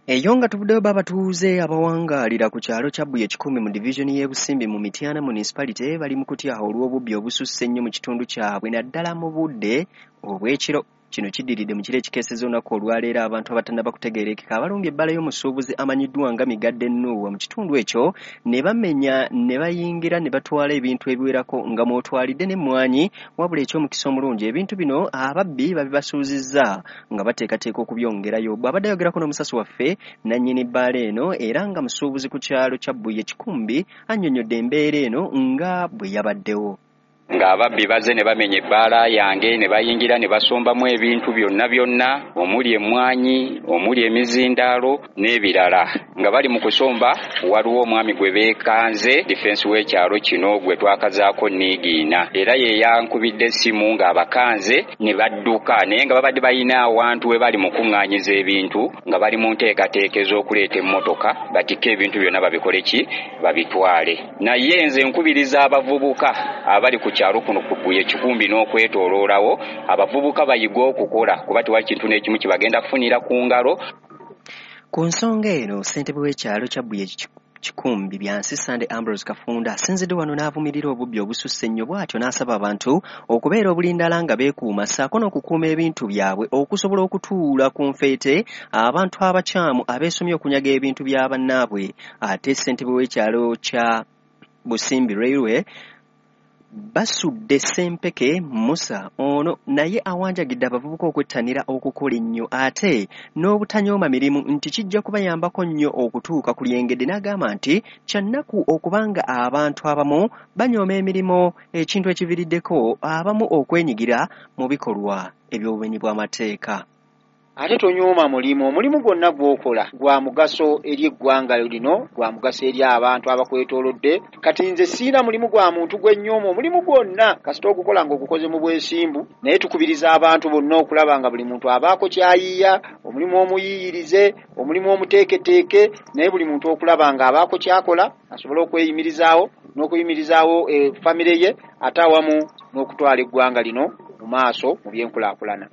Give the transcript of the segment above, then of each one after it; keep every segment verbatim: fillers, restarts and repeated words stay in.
Eyo nga tuvuddeyo, bo abatuuze abawangaalira ku kyalo kya Bbuye Kikumi mu divizoni y'e Busimbi mu Mityana Municipality bali mu kutya olw'obubbi obususse ennyo mu kitundu kyabwe, naddala mu budde obw'ekiro. Kino kiddiridde mu kiro ekikeesezza olunaku olwaleero abantu abatannaba kutegeerekeka abalumbye ebbala y'omusuubuzi amanyiddwa nga Migadde Nuuwa mu kitundu ekyo ne bamenya ne bayingira ne batwala ebintu ebiwerako nga mw'otwalidde n'emmwanyi. Wabula eky'omukisa omulungi, ebintu bino ababbi babibasuuzizza nga bateekateeka okubyongerayo. Bw'abadde ayogerako n'omusasi waffe, nannyini bbaala eno era nga musuubuzi ku kyalo kya Bbuye Kikumbi annyonnyodde embeera eno nga bwe yabaddewo. Ng'ababbi bazze ne bamenya ebbaala yange ne bayingira ne basombamu ebintu byonna byonna, omuli emmwanyi, omuli emizindaalo n'ebirala. Nga bali mu kusomba, waliwo omwami gwe beekanze, difensi w'ekyalo kino gwe twakazaako Niigiina, era ye yankubidde essimu ng'abakanze ne badduka, naye nga babadde balina awantu we bali mu kuŋŋaanyiza ebintu, nga bali mu nteekateeka ez'okuleeta emmotoka batikke ebintu byonna babikole ki, babitwale. Naye nze nkubiriza abavubuka abali ku kyalo kuno ku Bbuye Kikumbi n'okwetooloolawo, abavubuka bayige okukola, kuba tewali kintu n'ekimu kye bagenda kufunira ku ngalo. Ku nsonga eno, ssentebe w'ekyalo kya Bbuye Kikumbi Byansi Sande Ambrose Kafunda asinzidde wano n'avumirira obubbi obususse ennyo, bw'atyo n'asaba abantu okubeera obulindaala nga beekuuma ssaako n'okukuuma ebintu byabwe okusobola okutuula ku nfeete abantu abakyamu abeesomye okunyaga ebintu bya bannaabwe. Ate ssentebe w'ekyalo kya Busimbi Railway Basudde Ssempeke Musa ono naye awanjagidde abavubuka okwettanira okukola ennyo ate n'obutanyooma mirimu, nti kijja kubayambako nnyo okutuuka ku lyengedde, n'agamba nti kya nnaku okubanga abantu abamu banyooma emirimu, ekintu ekiviiriddeko abamu okwenyigira mu bikolwa eby'obumenyi bw'amateeka. Ate tonyooma mulimu. Omulimu gwonna gw'okola gwa mugaso eri eggwanga lino, gwa mugaso eri abantu abakwetoolodde. Kati nze siina mulimu gwa muntu gwe nnyooma. Omulimu gwonna kasita ogukola ng'ogukoze mu bwesimbu. Naye tukubiriza abantu bonna okulaba nga buli muntu abaako ky'ayiiya, omulimu omuyiiyirize, omulimu omuteeketeeke, naye buli muntu okulaba ng'abaako ky'akola asobole okweyimirizaawo n'okuyimirizaawo famire ye, ate awamu n'okutwala eggwanga lino mu maaso mu byenkulaakulana.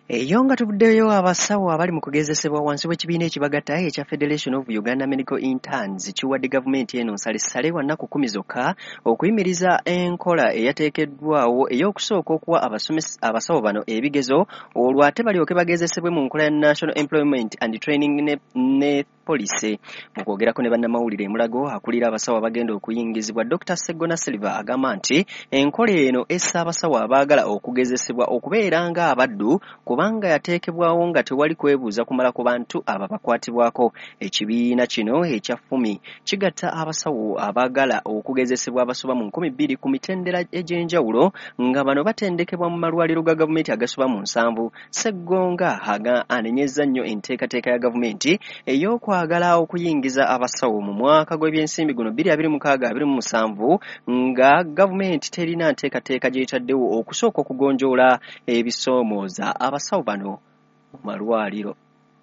Eyo nga tuvuddeyo, abasawo abali mu kugezesebwa wansi w'ekibiina ekibagatta ekya Federation of Uganda Medical Interns kiwadde gavumenti eno nsalessale wa nnaku kkumi zokka okuyimiriza enkola eyateekeddwawo ey'okusooka okuwa abasawo bano ebigezo, olwo ate balyoke bagezesebwe mu nkola ya National Employment and Training ne, ne Policy. Mu kwogerako ne bannamawulire e Mulago, akulira abasawo abagenda okuyingizibwa Doctor Ssegona Silver agamba nti enkola eno essa abasawo abaagala okugezesebwa okubeera ng'abaddu, kubanga yateekebwawo nga tewali kwebuuza kumala ku bantu abo abakwatibwako. Ekibiina kino ekya FUMI kigatta abasawo abaagala okugezesebwa abasoba mu nkumi bbiri ku mitendera egy'enjawulo, nga bano batendekebwa mu malwaliro ga gavumenti agasoba mu nsanvu. Ssegonga anenyezza nnyo enteekateeka ya gavumenti ey'okwagala okuyingiza abasawo mu mwaka gw'ebyensimbi guno bbiri abiri mukaaga abiri mu musanvu, nga gavumenti terina nteekateeka gy'etaddewo okusooka okugonjoola ebisoomooza abasawo bano mu malwaliro.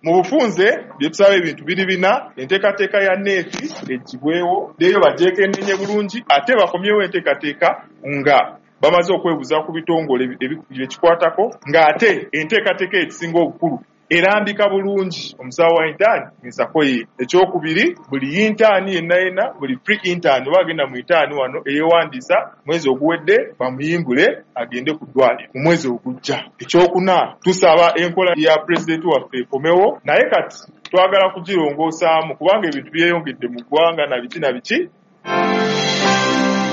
Mu bufunze bye tusaba ebintu biri bina: enteekateeka ya neeti eggyibwewo, leero bagyekeneenye bulungi, ate bakomyewo enteekateeka nga bamaze okwebuuza ku bitongole ebikikwatako, ng'ate enteekateeka ekisinga obukulu erambika bulungi omusawo wa intern ensako ye. Ekyokubiri, buli intern yenna yenna, buli pre intern oba agenda mu intern wano eyeewandiisa mwezi oguwedde, bamuyimbule agende ku ddwaliro mu mwezi ogujja. Ekyokuna, tusaba enkola ya pulezidenti waffe ekomewo, naye kati twagala kugirongoosaamu kubanga ebintu byeyongedde mu ggwanga na biki na biki.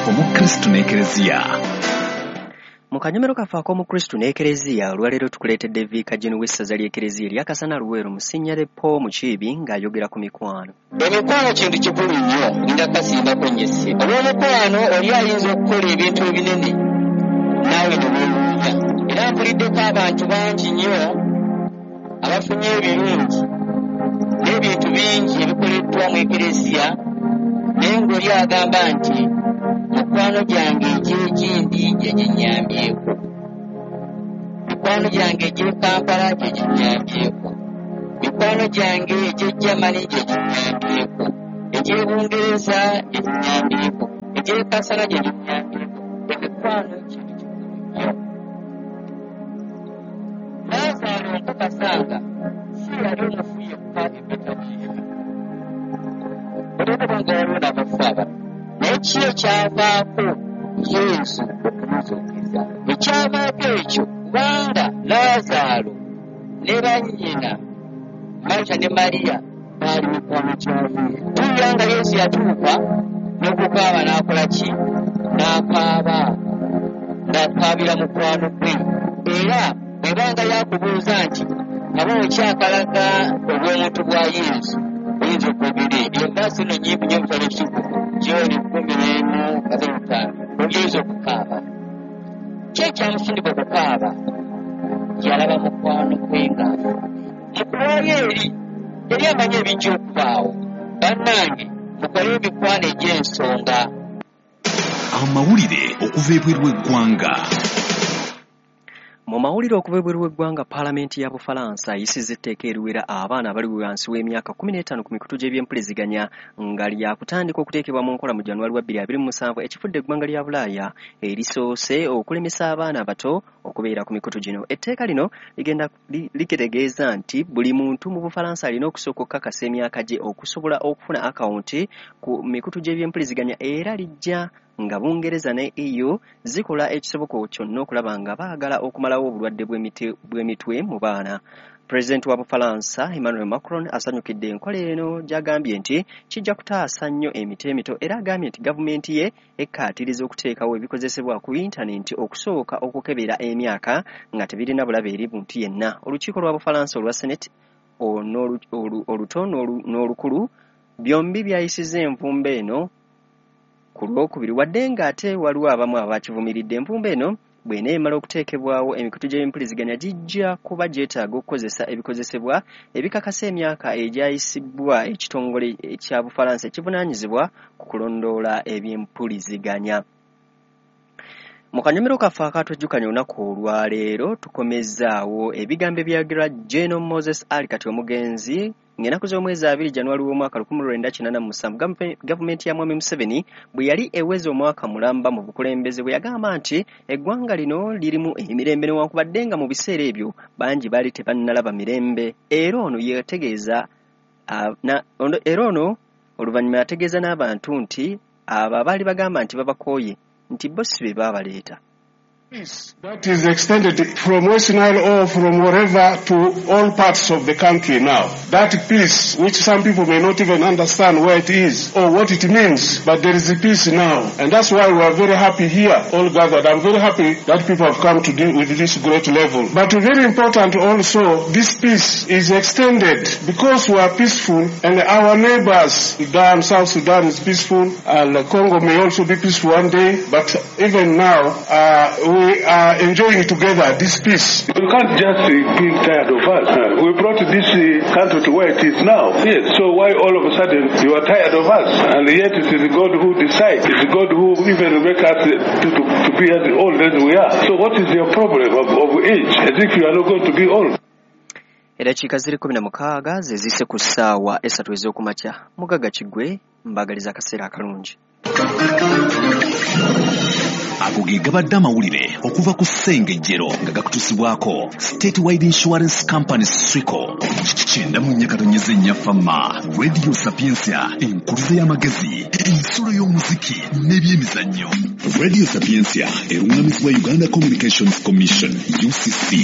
Omukristu n'Ekereziya. Mu kanyomero kaffe ak'Omukristu n'Ekereziya olwaleero tukuleetedde Viika Jeno w'essaza ly'Ekereziya erya Kasana Luweero Musinnyale Paul Mukiibi ng'ayogera ku mikwano. Emikwano kintu kikulu nnyo, ngenda kukasimbako nnyo essira. Olw'omukwano oli ayinza okukola ebintu ebinene naawe ne weewuunya. Era mpuliddeko abantu bangi nnyo abafunye ebirungi n'ebintu bingi ebikoleddwa mu Ekereziya, naye ng'oli agamba nti mikwano gyange egy'egindi gye ginnyambyeko, mikwano gyange egy'e Kampala gye ginnyambyeko, mikwano gyange egy'e Germany gye ginnyambyeko, egy'e Bungereza gye ginnyambyeko, egy'e Kasana gye ginnyambyeko. Omukwano kintu kikulu nnyo. Laazaalo nkakasanga si yali omufu yekka e Betaniya, olw'okuba nga waliwo n'abafu abalala, naye ki ekyavaako Yesu okumuzuukiza? Ekyavaako ekyo kubanga Laazaalo ne bannyina Marita ne Mariya baali mikwano gya Yesu. Tuwulira nga Yesu yatuuka n'okukaaba n'akola ki? N'akaaba, ng'akaabira mukwano gwe. Era bw'ebanga yakubuuza nti kabona okyakalaga obw'omuntu bwa Yesu, oyinza okwogera ebyo. Envaasi eno nnyimpi nnyo mu kitabo ekitukuvu, John kkumi n'emu asatu mu ttaano, oyinza okukaaba. Ki ekyamusindika okukaaba? Yalaba mukwano gwe ng'afudde. Mu kuwaayo eri yali amanyi ebijja okubaawo. Bannange, mukole emikwano egy'ensonga. Amawulire okuva ebweru w'eggwanga. Mu mawulire okuva ebweru w'eggwanga, Paalamenti ya Bufalansa ayisizza etteeka eriwera abaana abali wansi w'emyaka kkumi n'etaano ku mikutu gy'ebyempuliziganya nga lyakutandika okuteekebwa mu nkola mu January wa bbiri abiri mu musanvu, ekifudde eggwanga lya Bulaaya erisoose okulemesa abaana abato okubeera ku mikutu gino. Etteeka lino ligenda litegeeza nti buli muntu mu Bufalansa alina okusooka okukakasa emyaka gye okusobola okufuna akawunti ku mikutu gy'ebyempuliziganya, era lijja nga Bungereza ne E U zikola ekisoboka kyonna okulaba nga baagala okumalawo obulwadde bw'emitwe mu baana. Pulezidenti wa Bufalansa Emmanuel Macron asanyukidde enkola eno gy'agambye nti kijja kutaasa nnyo emiti emito, era agambye nti gavumenti ye ekkaatiriza okuteekawo ebikozesebwa ku yintanenti okusooka okukebera emyaka nga tebirina bulabe eri muntu yenna. Olukiiko lwa Bufalansa olwa Senate oluto n'olukulu byombi byayisizza envumbo eno ku Lwokubiri, wadde ng'ate waliwo abamu abakivumiridde. Envumbo eno bw'eneemala okuteekebwawo, emikutu gy'empuliziganya gijja kuba gyetaaga okukozesa ebikozesebwa ebikakasa emyaka egyayisibwa ekitongole kya Bufalansa ekivunaanyizibwa ku kulondoola ebyempuliziganya. Mu kanyomero kaffe akatwejjukanya olunaku olwaleero, tukomezzaawo ebigambo ebyayogerwa General Moses Ali kati omugenzi ng'ennaku z'omwezi abiri January w'omwaka lukumi lwenda kinaana mu musanvu, gavumenti ya Mwami Museveni bwe yali eweza omwaka mulamba mu bukulembeze, bwe yagamba nti eggwanga lino lirimu emirembe newankubadde nga mu biseera ebyo bangi baali tebannalaba mirembe. Era ono yategeeza era ono oluvannyuma yategeeza n'abantu nti abo abaali bagamba nti babakooye nti bo si be baabaleeta. That is extended from West Nile or from wherever to all parts of the country now. That peace, which some people may not even understand where it is or what it means, but there is a peace now. And that's why we are very happy here, all gathered. I'm very happy that people have come to deal with this great level. But very important also, this peace is extended because we are peaceful and our neighbors, Sudan, South Sudan is peaceful, and Congo may also be peaceful one day, but even now, uh, we We are enjoying together this peace. You can't just be tired of us. We brought this country to where it is now. Yes. So why all of a sudden you are tired of us? And yet it is God who decides. It is God who even makes us to, to, to be as old as we are. So what is your problem of, of age? As if you are not going to be old. Eddakiika ziri kkumi na mukaaga ze zise ku ssaawa esatu ez'okumakya. Mugagga Kiggwe mbagaliza akaseera akalungi. Ago ge gabadde amawulire okuva ku Ssengejjero nga gakutuusibwako Statewide Insurance Company Swico. Kyenda mu nnya katonyeze nnya Fama, Radio Sapientia, enkuluze y'amagezi, ensulo y'omuziki n'ebyemizannyo. Radio Sapientia erungamizibwa Uganda Communications Commission U C C.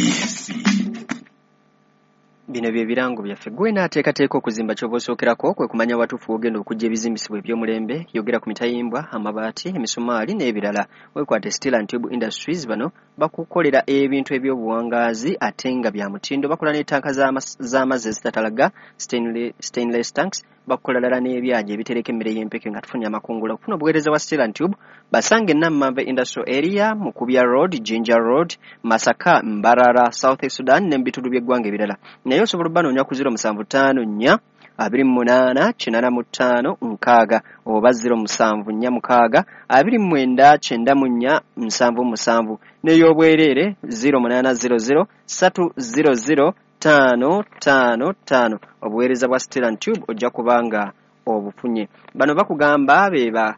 Bino bye birango byaffe. Gwe n'ateekateeka okuzimba ky'oba osookerako kwe kumanya watuufu w'ogenda okuggya ebizimbisibwa eby'omulembe. Yogera ku mitayimbwa, amabaati, emisumaali n'ebirala. Weekwate Steel and Tube Industries, bano bakukolera ebintu eby'obuwangaazi ate nga bya mutindo. Bakola n'ettanka z'amazzi ezitatalaga, stainless tanks, bakukola ddala n'ebyagi ebitereka emmere y'empeke nga tufunye amakungula. Okufuna obuweereza bwa Steel and Tube basange Nammambe Industrial Area, Mukubya Road, Jinja Road, Masaka, Mbarara, South Sudan ne mu bitundu by'eggwanga ebirala. Naye osobola obbanoonya ku ziro musanvu ttaano nnya abiri mu munaana kinaana mu ttaano nkaaga oba ziro musanvu nnya mukaaga abiri mu mwenda kyenda mu nnya nsanvu musanvu, n'ey'obwereere ziro munaana ziro ziro ssatu ziro ziro ttaano ttaano ttaano. Obuweereza bwa Steel and Tube ojja kubanga obufunye. Bano bakugamba be ba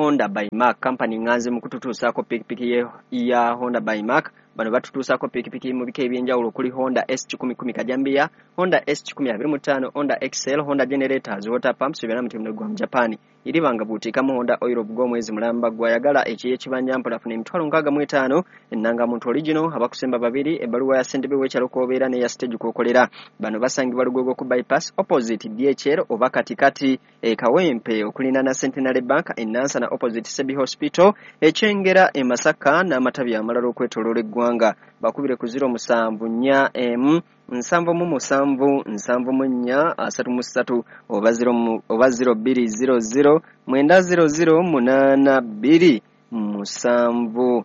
Honda by Mark company nganze mu kututuusaako pikipiki ya Honda by Mark. Bano batutuusaako pikipiki mu bika ebyenjawulo okuli Honda S kikumi kumi Kajambiya, Honda S kikumi abiri mu ttaano, Honda X L, Honda generators, water pumps byonna mutindo gwa mu Japan. Iribanga buutiikamu Honda oil ogw'omwezi mulamba gwayagala ekiye kibanja mpola funa emitwalo nkaaga mu etaano, ennangamuntu original, abakusemba babiri, ebbaluwa ya ssentebe w'ekyalo kw'obeera n'eya stage kw'okolera. Bano basangibwa Lugogo ku bypass opposite D H L oba katikati e Kawempe okulinaana Centenary Bank e Nansana opposite Sebi Hospital, e Kyengera e Masaka n'amatabi amalala okwetooloola eggwanga. Bakubire ku ziro musanvu nnya emu nsanvu mu musanvu nsanvu mu nnya asatu mu ssatu oba ziro oba ziro bbiri ziro ziro mwenda ziro ziro munaana bbiri musanvu.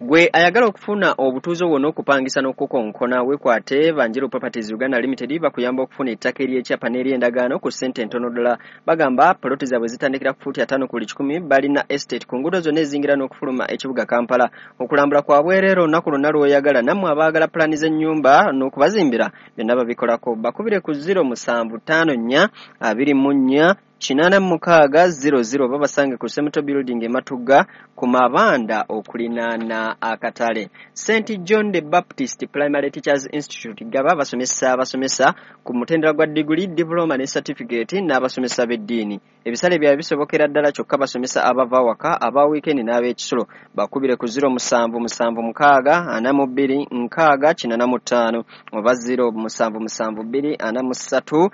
Gwe ayagala okufuna obutuuze wonna okupangisa n'okukonkona weekwate Banjiro Properties Uganda Limited bakuyamba okufuna ettaka ery'ekyapa n'ery'endagaano ku ssente entono ddala. Bagamba poloti zaabwe zitandikira ku fuuti ataano ku buli kikumi, balina estate ku nguudo zonna ezingira n'okufuluma ekibuga Kampala. Okulambula kwa bwereere olunaku lwonna lw'oyagala, nammwe abaagala pulaani z'ennyumba n'okubazimbira byonna babikolako. Bakubire ku ziro musanvu ttaano nnya abiri mu nnya kinaana mu mukaaga ziro ziro babasange ku Semuto Building e Matugga ku mabanda okulinaana akatale. Saint John the Baptist Primary Teachers Institute gaba basomesa abasomesa ku mutendera gwa diguli, diploma ne certificate n'abasomesa b'eddiini. Ebisale byabwe bisobokera ddala kyokka basomesa abava waka, aba weekend n'ab'ekisulo. Bakubire ku ziro musanvu musanvu mukaaga ana mu bbiri nkaaga kinaana mu ttaano oba ziro musanvu musanvu bbiri ana mu ssatu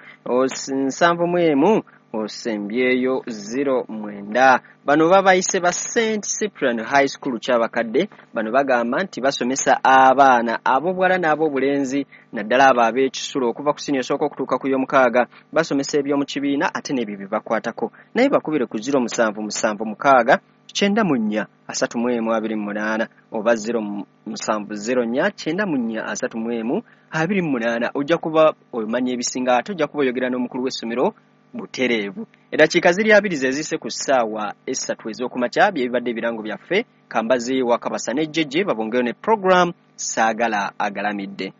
nsanvu mu emu osembyeyo ziro mwenda. Bano babayise ba Saint Cyprian High School Kyabakadde. Bano bagamba nti basomesa abaana ab'obuwala n'ab'obulenzi naddala abo ab'ekisulo okuva ku siniya esooka okutuuka ku y'omukaaga. Basomesa eby'omu kibiina ate n'ebyo bye bakwatako. Naye bakubire ku ziro musanvu musanvu mukaaga kyenda mu nnya asatu mu emu abiri mu munaana oba ziro musanvu ziro nnya kyenda mu nnya asatu mu emu abiri mu munaana. Ojja kuba omanya ebisinga ate ojja kuba oyogera n'omukulu w'essomero butereevu. Eddakiika ziri abiri ze zise ku ssaawa essatu ez'okumakya bye bibadde ebirango byaffe. Kambazi wa Kabasa ne Jeje babongeyo ne program Saagala Agalamidde.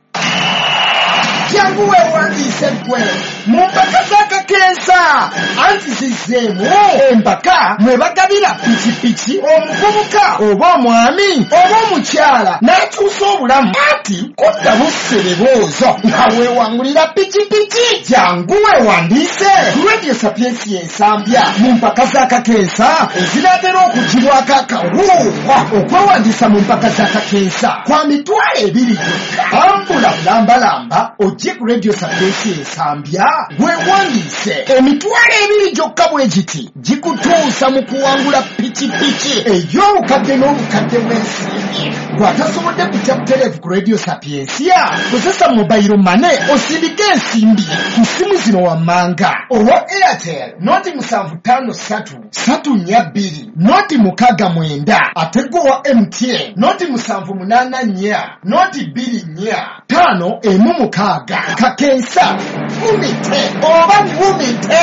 Jangu weewandiise ggwe mu mpaka z'akakensa anti zizzeemu empaka mwe bagabira pikipiki omuvubuka oba omwami oba omukyala n'akyusa obulamu ati kudda bussereboozo nga weewangulira pikipiki. Jangu weewandiise ku Radio Sapiensia Ensambya mu mpaka z'akakensa ezinaatera okugibwako akawuuwa. Okwewandiisa mu mpaka z'akakensa kwa mitwalo ebiri gyokka. Ambula bulambalamba ojje ku Radio Sapiensia Ensambya weewandiise. Emitwalo ebiri gyokka bwe giti gikutuusa mu kuwangula pikipiki ey'obukadde n'obukadde bw'ensimbi. Bw'atasobodde kujja butereevu ku Radio Sapiensia, kozesa mobile money osindike ensimbi ku ssimu zino wammanga: owa Airtel noti musanvu ttaano ssatu ssatu nnya bbiri noti mukaaga mwenda, ate gwe owa M T N noti musanvu munaana nnya noti bbiri nnya ttaano emu mukaaga. Kakensa fumite oba vumite.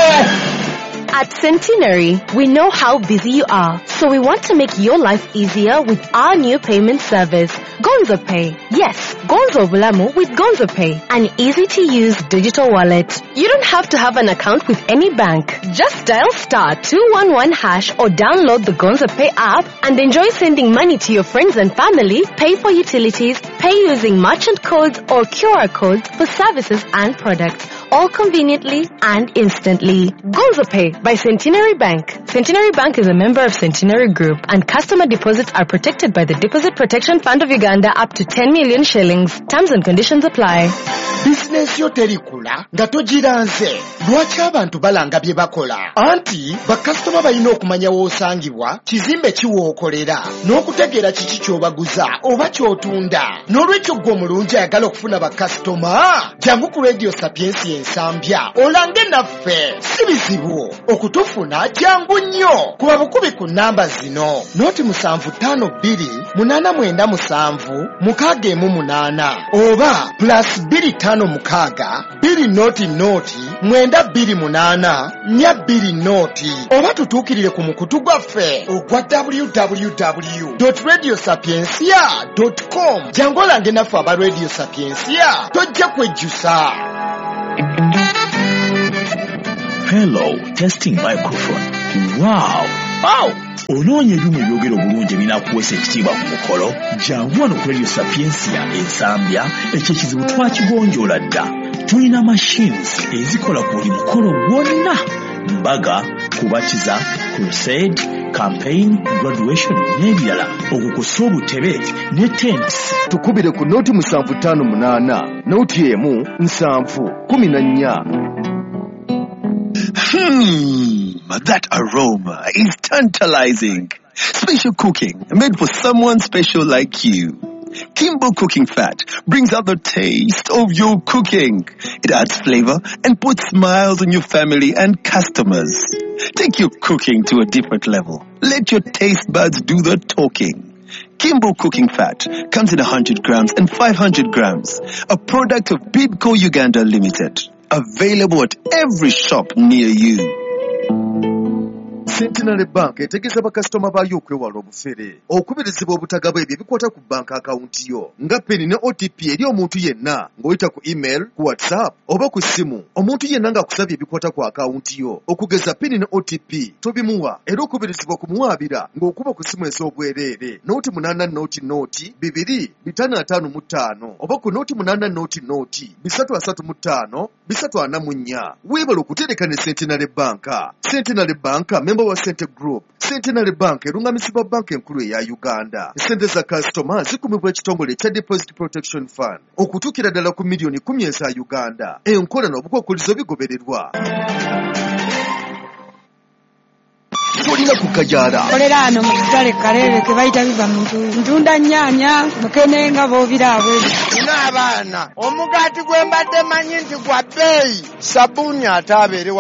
At Centenary, we know how busy you are, so we want to make your life easier with our new payment service, Gonzo Pay. Yes, Gonzo Bulamu with Gonzo Pay, an easy-to-use digital wallet. You don't have to have an account with any bank. Just dial star two one one hash or download the Gonzo Pay app and enjoy sending money to your friends and family, pay for utilities, pay using merchant codes or Q R codes for services and products, all conveniently and instantly. Gonzo Pay by Centenary Bank. Centenary Bank is a member of Centenary Group, and customer deposits are protected by the Deposit Protection Fund of Uganda up to ten million shillings. Terms and conditions apply. Bizinensi yo terikula nga togiranze. Lwaki abantu balanga bye bakola? Anti bakasitoma balina okumanya w'osangibwa, kizimbe ki w'okolera, n'okutegeera kiki ky'obaguza oba ky'otunda. N'olwekyo ggwe omulungi ayagala okufuna bakasitoma, jangu ku Radio Sapiensia Ensambya olange naffe. Si bizibu okutufuna, jangu nnyo. Kuba bukubi ku nnamba zino: noti musanvu ttaano bbiri munaana mwenda musanvu mukaaga emu munaana oba plus bbiri ttaano mukaaga bbiri noti noti mwenda bbiri munaana nnya bbiri noti, oba tutuukirire ku mukutu gwaffe ogwa w w w dot radio sapiensia dot com. Jangu olange naffe aba Radio Sapiensia, tojja kwejjusa. Hello, testing microphone. Wow! Wow! Onoonya ebyuma ebyogera obulungi ebinaakuweesa ekitiibwa ku mukolo? Jangu wano ku Radio Sapientia Ensambya. Ekyo ekizibu twakigonjoola dda. Tulina machines ezikola ku buli mukolo gwonna: mbaga, kubatiza, crusade, campaign, graduation n'ebirala, okwo kw'ossa obutebe ne tents. Tukubire ku nooti musanvu ttaano munaana nooti emu nsanvu kumi na nnya. Hmm, that aroma is tantalizing. Special cooking made for someone special like you. Kimbo Cooking Fat brings out the taste of your cooking. It adds flavor and puts smiles on your family and customers. Take your cooking to a different level. Let your taste buds do the talking. Kimbo Cooking Fat comes in one hundred grams and five hundred grams. A product of Bidco Uganda Limited. Available at every shop near you. Centenary Bank etegeeza bakasitoma baayo okwewala obufere. Okubirizibwa obutagaba ebyo ebikwata ku banka akawunti yo nga PIN ne O T P eri omuntu yenna ng'oyita ku email, ku WhatsApp oba ku ssimu. Omuntu yenna ng'akusabye ebikwata ku akawunti yo okugeza PIN ne O T P, tobimuwa, era okubirizibwa okumuwaabira ng'okuba ku ssimu ez'obwereere nooti munaana nooti nooti bibiri bitaano ataano mu ttaano oba ku nooti munaana nooti nooti bisatu asatu mu ttaano bisatu ana mu nnya. Weebale okutereka ne Centenary Bank. Centenary Bank member wa Cente Group. Centenary Bank erungamisibwa banka enkulu eya Uganda. Sente za kasitoma zikumibwa ekitongole ekya Deposit Protection Fund okutuukira ddala ku miliyoni kumi eza Uganda. Enkola n'obukwakkulizo bigobererwa. Tolina kukajaala. Kolera ano mu katale Kaleerwe ke bayita biva mu ntuuyo. Ntunda nnyaanya, mukene nga b'obiraabwe. Nina abaana, omugaati gwe mbadde manyi nti gwa bbeeyi, sabbuuni ate abeere.